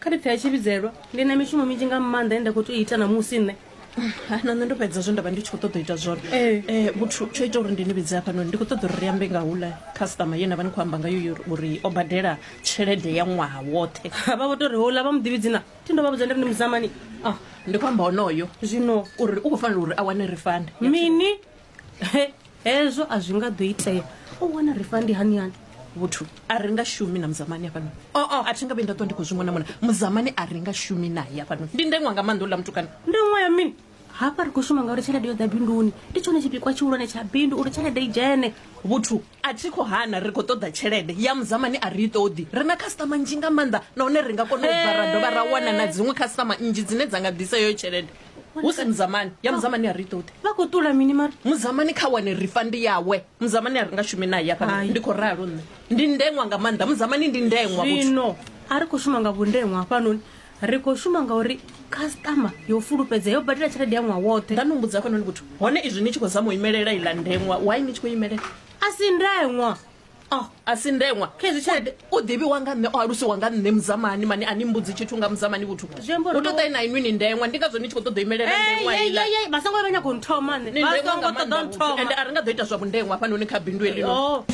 Kha ndi pfe a tshi vhidzelwa. Ndi na mishumo minzhi nga maanḓa ine nda khou tea u ita ṋamusi nṋe. Na nṋe ndo fhedza zwe nda vha ndi tshi khou ṱoḓa u ita zwone. Ee. Eh, vhuthu tsho ita uri ndi ni vhidze hafhanoni ndi khou ṱoḓa uri ri ambe nga houḽa customer ye na vha ni khou amba ngayo yo uri o badela tshelede ya ṅwaha woṱhe. Vha vho tou ri houḽa vha mu ḓivhi dzina. Thi ndo vha vhudza ndi ri ndi Muzamani. Ah, ndi khou amba onoyo Zwino uri u khou fanela uri a wane refund. mini? He, hezwo a zwi nga ḓo itea. O wana refund hani hani? Vhuthu a ri nga shumi na Muzamani hafhanoni. Oh, a thi nga vhuyi nda ṱwa ndi khou zwi mona mona. Muzamani a ri nga shumi naye hafhanoni. Ndi ndeṅwa nga maanḓa uḽa mutukana. Ndeṅwa ya mini? Hafha ri khou shuma ngauri tshelede yo ḓa binduni. Ndi tshone tshipikwa tshihulwane tsha bindu uri tshelede i dzhene. Vhuthu a thi khou hana ri khou ṱoḓa tshelede ya Muzamani a ri i ṱoḓi. Ri na khasiṱama nnzhi nga maanḓa nahone ri nga kona u bva ra dovha ra wana na dziṅwe khasiṱama nnzhi dzine dza nga ḓisa heyo tshelede. Hu si Muzamani, ya Muzamani a ri i ṱoḓi. Vha khou ṱula mini mara? Muzamani kha wane refund yawe. Muzamani a ri nga shumi naye hafha. Hai. Ndi khou ralo nṋe. Ndi ndeṅwa nga maanḓa. Muzamani ndi ndeṅwa vhuthu. Zwino a ri khou shuma nga vhundeṅwa hafhanoni. Ri khou shuma ngauri khasiṱama yo fulufhedzea yo badela tshelede ya ṅwaha woṱhe. Nda ni humbudza hafhanoni vhuthu. Hone izwi ni tshi khou zama u imelela iḽa ndeṅwa, why ni tshi khou imelela? A si ndeṅwa. Oh, a si ndeṅwa. Khezwi tshelede U ḓivhiwa nga nṋe, o alusiwa nga nṋe Muzamani mani a ni mbudzi tshithu nga Muzamani vhuthu. Zwi amba uri Hu tou ṱai na inwi ni ndeṅwa, ndi ngazwo ni tshi khou ṱoḓa u imelela ndeṅwa Ei, iḽa. ei, ei, vha songo vha nyaga u nthoma nṋe. Ni Vha ndeṅwa songo nga ṱoḓa maanḓa u vhuthu, nthoma. ende a ri nga ḓo ita zwa vhundeṅwa hafhanoni kha bindu heḽinoni. Oh.